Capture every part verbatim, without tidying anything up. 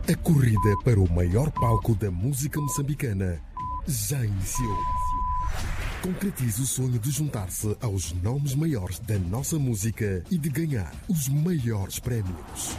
A corrida para o maior palco da música moçambicana já iniciou. Concretize o sonho de juntar-se aos nomes maiores da nossa música e de ganhar os maiores prémios.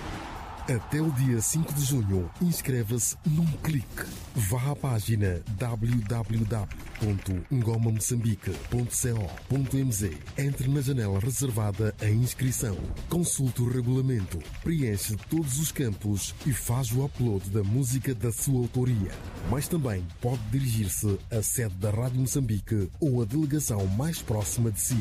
Até o dia cinco de junho, inscreva-se num clique. Vá à página w w w ponto ngoma moçambique ponto co ponto m z. Entre na janela reservada à inscrição. Consulte o regulamento, preenche todos os campos e faz o upload da música da sua autoria. Mas também pode dirigir-se à sede da Rádio Moçambique ou à delegação mais próxima de si.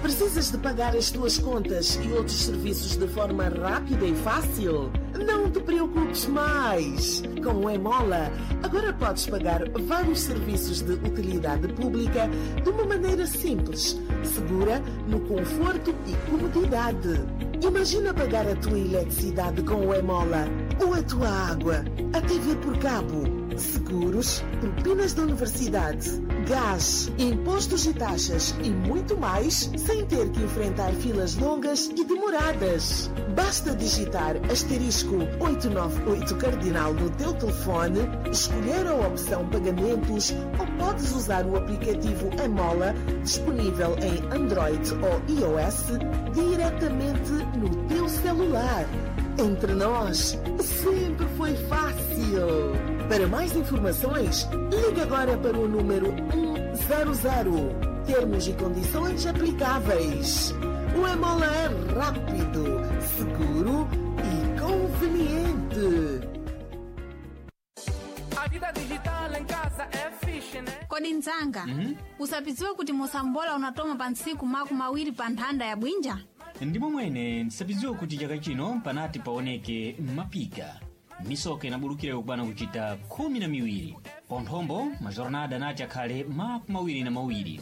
Precisas de pagar as tuas contas e outros serviços de forma rápida e fácil? Não te preocupes mais! Com o Emola, agora podes pagar vários serviços de utilidade pública de uma maneira simples, segura, no conforto e comodidade. Imagina pagar a tua eletricidade com o Emola, ou a tua água, a T V por cabo, seguros, propinas da universidade, gás, impostos e taxas e muito mais, sem ter que enfrentar filas longas e demoradas. Basta digitar asterisco oito nove oito cardinal no teu telefone, escolher a opção pagamentos ou podes usar o aplicativo Emola, disponível em Android ou iOS, diretamente no teu celular. Entre nós, sempre foi fácil. Para mais informações, ligue agora para o número um zero zero. Termos e condições aplicáveis. O Emola é rápido, seguro e conveniente. A vida digital em casa é fixe, né? Kodi nzanga, mm-hmm. Usapidziwe kuti musambola unatoma pa ntsiku maku mawiri pa nthanda ya bwinja? Ndimo mwene ndisapidziwe kuti chaka chino panati paoneke mapika misoka inabulukira yokwana kuchita khumi na miwiri. Ponthombo majornada anati akhale maku mawiri na mawiri.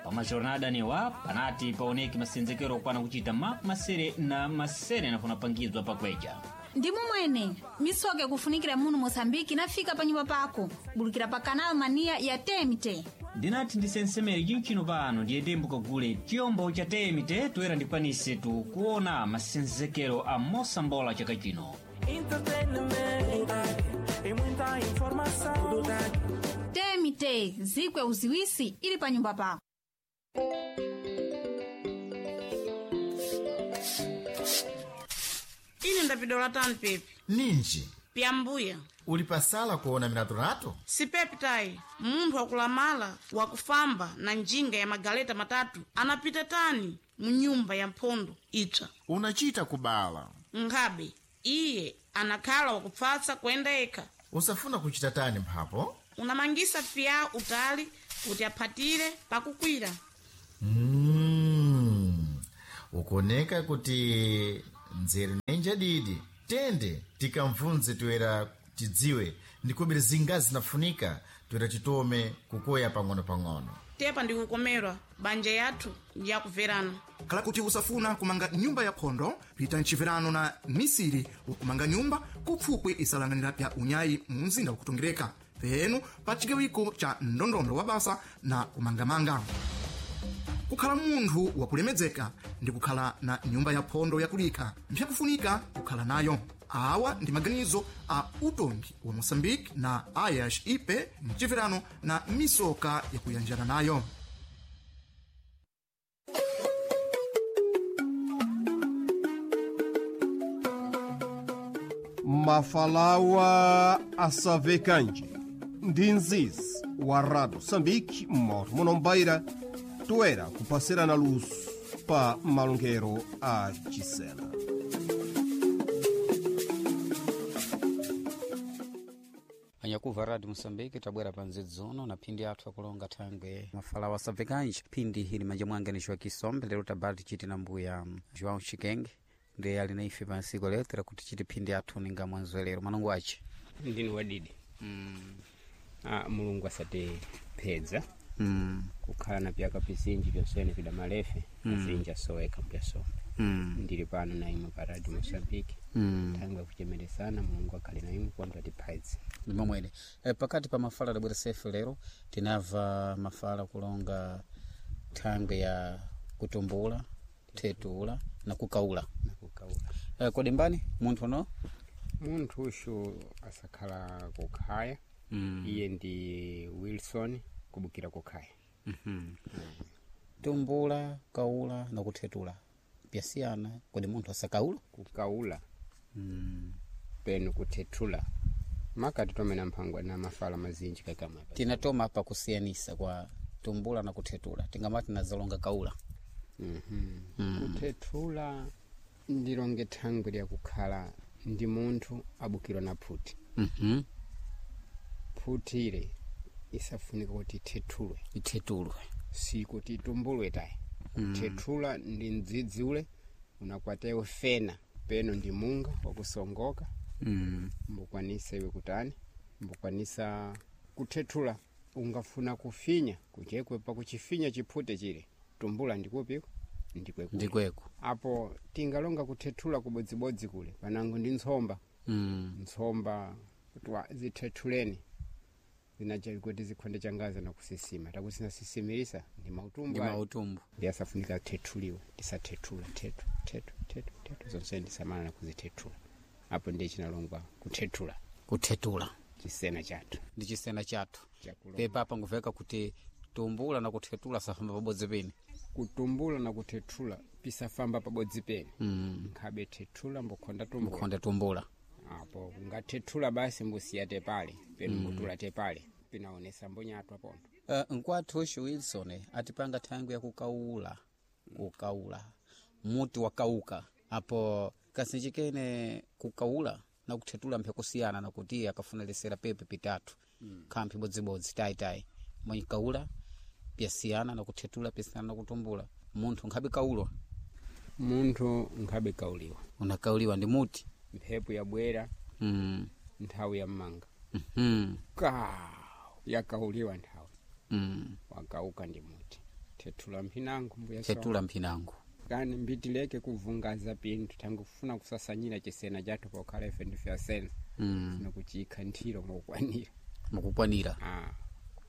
Pa majornada anewa panati paoneke masenzekero okwana kuchita maku masere na masere anafuna pangizwa pakweja. Ndimo mwene misoka ikufunikira muno Moçambique inafika pa nyumba pako bulukira pa Canal Mania ya T M T. Ndinati ndisensemere chinchino pano ndiyedembo kagule chiyombo cha T M T toera ndikwanise tu kuona masenzekero a mosambola chaka chino. Entretenimento e muita informação. T M T zikwe uziwisi ili pa nyumba pako. Ine ndapidola tani pepi. Ninji Pyambuya. Uli pasala kuona milatolato? Si pepi tayi, munthu wakulamala wakufamba na njinga ya magaleta matatu anapita tani mu nyumba ya mphondo itswa. Unachita kubala. Nkhabe iye anakhala wakupfatsa kuyenda yekha. Usafuna kuchita tani mphapo? Unamangisa piya utali kuti aphatire pakukwira. Mm. Ukoneka kuti nzeru nenja didi tende tikamvunze toera tidziwe ndikubiri zingazi zinafunika toera titome kukoya pang'ono-pang'ono. Tepa ndikukomerwa banja yathu ndiyakuverana. Khala kuti usafuna kumanga nyumba ya phondo, pita mchiverano na misiri wakumanga nyumba kupfupwi isalanganira pya unyayi mu mzinda wakutongereka. Penu pa chigawiko cha ndondondo wa basa na kumangamanga. Kukhala munthu wakulemedzeka ndi kukhala na nyumba ya phondo yakulika mpyakufunika kukhala nayo. Awa ndi maganizo a utongi wa Moçambique na A I S I P mchiverano na misoka yakuyanjana nayo. Mafalawa asavekanji ndi nzizi wa Rádio Moçambique moto munombaira toera kupasirana luso pa malongero a Chisena. Anyakuva Radio Moçambique tabwera pa nzidzono na phindi athu akulonga thangwe mafalawa asabvekanji phindi ili manja mwanga ni Joaquim Sombe lero tabali tichiti na mbuya João Chikenge ndiye ali na ife pa nsiku lero tera kuti chiti phindi athu ninga mwanzwelero manongo ace ndini wadidi mm. ah, mulungu asatiphedza mm. kukhala na pyaka pizinji pyonsene pida malefe Mm. azinji asoweka mpyasombe Mm. ndili pano na imwe pa Radio Moçambique Mm. thangwe kuchemeresana mulungu akhale na imwe kwamba atiphedze ndimo mwene e, pakati pa mafala adabwera sefe lero tinamva mafala kulonga Thangwe ya kutumbula, thetula na kukaula. Na kukaula. Eh, kodi mbani munthu no? Munthu ushu asakhala kukhaya. Mm. Iye ndi Wilson kubukira kukhaya. Mm -hmm. Tumbula, kaula na kuthetula pyasiyana. Kodi munthu asakaula? Kukaula. Mm. Penu kuthetula makati tomena mphangwa na mafala mazinji kakama. Tinatoma pa kusiyanisa kwa tumbula na kuthetula, tingamati nazalonga kaula. mm -hmm. mm. Kuthetula ndilonge thangwi lyakukhala ndi munthu abukirwa na phuti. mm -hmm. Phuti ile isafunika kuti ithethulwe. Ithetulwe, sikuti itumbulwe tayi. Mm. Kuthethula ndi mdzidzi ule unakwatewe fena peno ndi munga wakusongoka. Mm. Mbukwanisa iwe kutani, mbukwanisa kuthethula. Ungafuna kufinya kuchekwe pakuchifinya chiphute chile, tumbula ndikupiko ndikwekule. Ndikweko apo tingalonga kuthethula kubodzibodzi kule panango ndi ntsomba. Mm. Ntsomba kutwa zithethuleni zinacha kuti zikhonde changaza na kusisima takusinasisimirisa ndi mautumbu. Ndi ayo. mautumbu. Ndi asafunika thethuliwe, tisathetula thethu thethu thethu thethu zonse ndisamala na kuzithethula. Apo ndiye chinalongwa kuthethula. Kuthetula chisena chathu ndi chisena chathu. Chakulonga. Pepa apa nguveka kuti tumbula na kuthetula safamba pabodzi pene. Kutumbula na kuthethula pisafamba pabodzi pene. Mm. Nkhabe thethula mbukhonda tumbula. Mbukhonda tumbula. Apo ungathethula basi mbusiya tepale penu. Mm. Mbutula tepale pinaonesa mbonyatwa pontho. Uh, nkwathu ushu Wilson atipanga thangwi yakukaula, kukaula muti wakauka apo kasinjikene kukaula na kuthetula mphekusiyana nakuti akafuna lesera pepe pitatu. Mm. Khamphi bodzibodzi tayitayi mwenye kaula pyasiyana na kuthetula pyasiyana na kutumbula. Munthu nkhabe kaulwa. Munthu nkhabe kauliwa. Unakauliwa ndi muti. Mphepo yabwera. Mm. Nthawi ya mmanga. Mm -hmm. Ka yakauliwa nthawi. Mm. Wakauka ndi muti thethula mphinango mbuya. Thethula mphinango. Kani mbitileke kuvungaza pinthu tangofuna kusasanyira chisena chathu pokhala ife ndife asena. Mm. Funa kuchikha nthiro mukukwanira. Mukukwanira. Ah,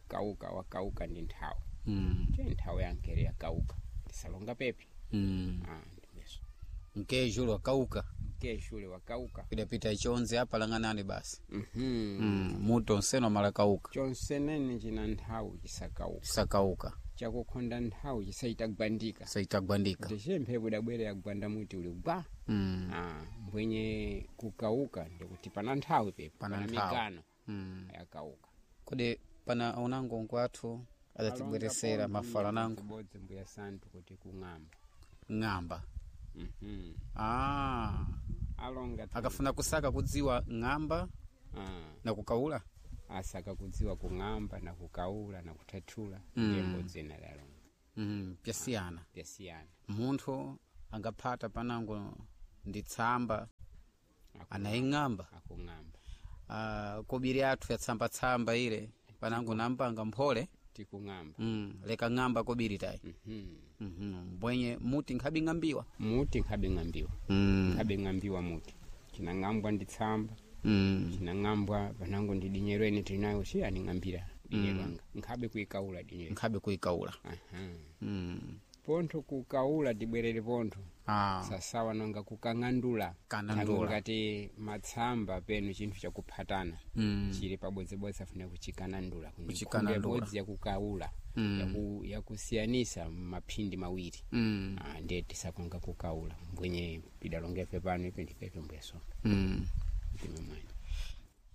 kauka wakauka ndi nthawi. Mm. Che nthawi yankere yakauka tisalonga pepi. Mm. Ah, ndimeso. Mkejulo wakauka. Mkeshule wakauka. Pidapita ichonze apa lang'anani basi. mm -hmm. Mm. Mutu onseno malakauka. Chonsenene china nthawi chisakauka. Chisakauka. Chakukhonda nthawi chisaitagwandika. Saitagwandika. Kuti mphepo idabwera yagwanda muti uli gwa. Mm. Ah, mbwenye kukauka ndikuti pana nthawi pepo Pana pana nthawi. migano. Mm. Yakauka. Kodi pana unango nkwathu adatibweresera mafala nango? Bodzi mbuya santu kuti kung'amba. Ng'amba. mm -hmm. Ah. Alonga akafuna kusaka kudziwa ng'amba. Ah. Na kukaula. Asaka kudziwa kung'amba na kukaula na kuthathula. Mm. Ndiye mbodzina lalonga. Mm, pyasiyana. Pyasiyana. Munthu angaphata panango ndi tsamba anaying'amba. Akung'amba. Uh, kobiri athu yatsambatsamba ile panango nampanga mphole. Tikung'amba. Mm, leka ng'amba kobiri tayi. mm -hmm. mm -hmm. Mbwenye muti nkhabe ng'ambiwa. Muti nkhabe ng'ambiwa. Mm. Nkhabe ng'ambiwa muti chinang'ambwa ndi tsamba. Mm. Chinang'ambwa panango ndi dinyerweni tilinayo si aning'ambira dinyerwanga. Mm. Nkhabe kuikaula dinyero. Nkhabe kuikaula. Aha. Mm. Pontho kukaula tibwerere pontho. Ah. Sasawa nanga kukang'andula. Kanandula. Ngati matsamba penu chinthu chakuphatana. Mm. Chili pabodzibodzi afuna kuchikanandula. Kuchikanandula. Bodzi yakukaula. Mm. Yaku, yakusiyanisa maphindi mawiri. Mm. Ah, ndiye tisakonga kukaula mbwenye pidalongefe pano ipi ndipepe mbuyaso. Mm. Ndime mwene.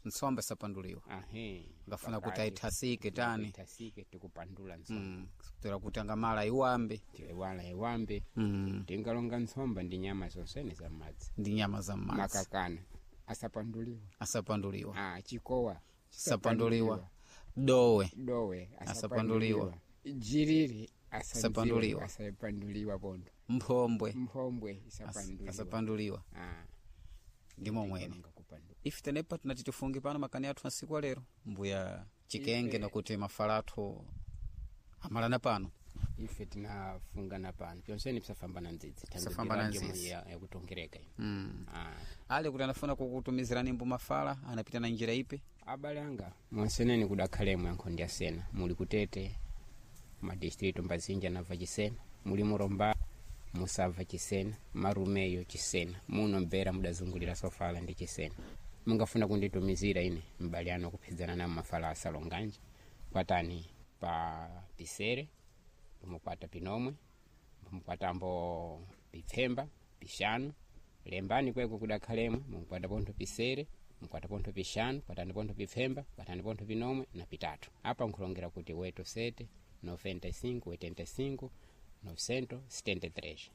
Ntsomba sapanduliwa. Ahe. Ngafuna kuti aithasike tani. Ithasike tikupandula ntsomba. Mm. Kutera kuti angamala iwambe. Wala iwambe. Mm. Tingalonga ntsomba ndi nyama zonsene za m'madzi. Ndi nyama za m'madzi. Makakana asapanduliwa. Asapanduliwa. Ah, chikowa Sapanduliwa. Dowe. Dowe asapanduliwa. Jiriri Asapanduliwa. asapanduliwa pondo. Mphombwe. Mphombwe isapanduliwa. Asapanduliwa. Ah. Ndimo mwene. Ife tenepa tinati tifunge pano makani athu masiku alero mbuya chikenge nakuti mafala athu amalana pano. Ife tinafungana pano pyonseni pisafambana ndzidzi. Pisafambana ndzidzi. Yakutongereka ino. Mm. Ah. Ale kuti anafuna kukutumizirani mbu mafala anapita na njira ipi? Abale anga monseneni kudakhalemo yankho ndi asena muli kutete Madistrito mbazinji anabva chisena, muli Muromba musabva chisena, Marumeyo chisena, muno Mbera mudazungulira sofala ndi chisena. Mungafuna kunditumizira ine mbali ano kuphidzana na mafala asalonganje, kwatani pa pisere, pumukwata pinomwe, pumukwatambo pipfemba, pixanu, lembani kweko kudakhalemwe, mukwata pontho pisere, mukwata pontho pixanu, kwatani pontho pipfemba, kwatani pontho pinomwe na pitatu. Apa nkhulongera kuti oito sete noventa e cinco oitenta e cinco novecentos setenta e três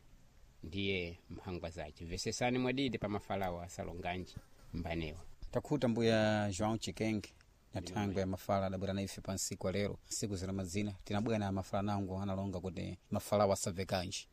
ndiye mphangwa zace. Vesesani mwadidi pa mafalawo asalonganji mbanewa. Takhuta mbuya João Chikenge na thangwe ya mafala adabwera na ife pa nsiku alero siku zina mazina tinabwera na mafala nango analonga kuti mafalawo asabvekanji.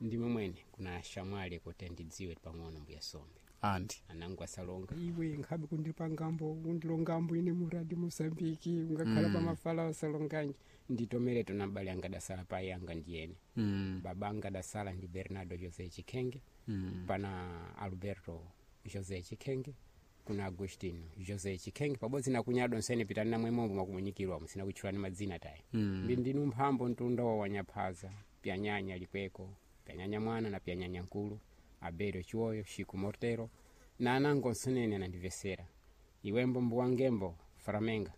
Ndimwe mwene kuna shamwali kuti ndidziwe pang'ono mbuya Sombe. Andi anangu asalonga Iwe nkhabe kundipangambo kundilongambo ine muradi Mosambiki ungakhala Mm. mm. pamafala asalonganji nditomere tona mbali anga dasala pai anga ndiyene Mm. baba anga dasala ndi Bernardo José Chikenge Mm. pana Alberto José Chikenge, kuna Agostino José Chikenge pabodzi na kunyado nsene pitani namwe mombo mwakumunyikirwa musina kutchulani madzina tayi. Mm. Ndi ndinu mphambo mtundowo wanyaphaza pyanyanya likweko, pyanyanya mwana na pyanyanya nkulu, Abelio Chiwoyo, Chico Mortero na anango nsenene anandivesera. Iwembo mbuwangembo Faramenga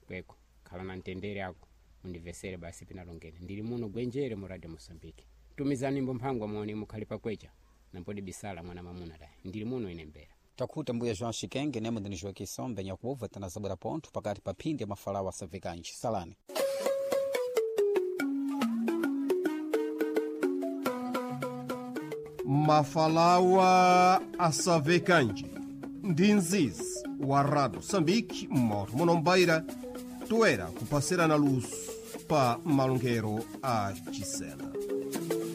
kweko khala na mtendere ako mundivesere basi pinalongene ndili muno Gwenjere mu Radio Mosambiki. Tumizani mbo mphangwa muone mukhali pakwecha nampodi bisala mwana mamuna tayi ndili muno ine Mbera. Takhuta mbuya João Chikenge nemwe ndini Joaquim Sombe nyakubva tanazabwera pontho pakati pa phindi ya mafalawo asabvekanji. Salani. Mafalawa asavekanje ndi nzizi wa Rado Sambiki mmoto munombaira toera kupasirana luso pa malongero a chisena.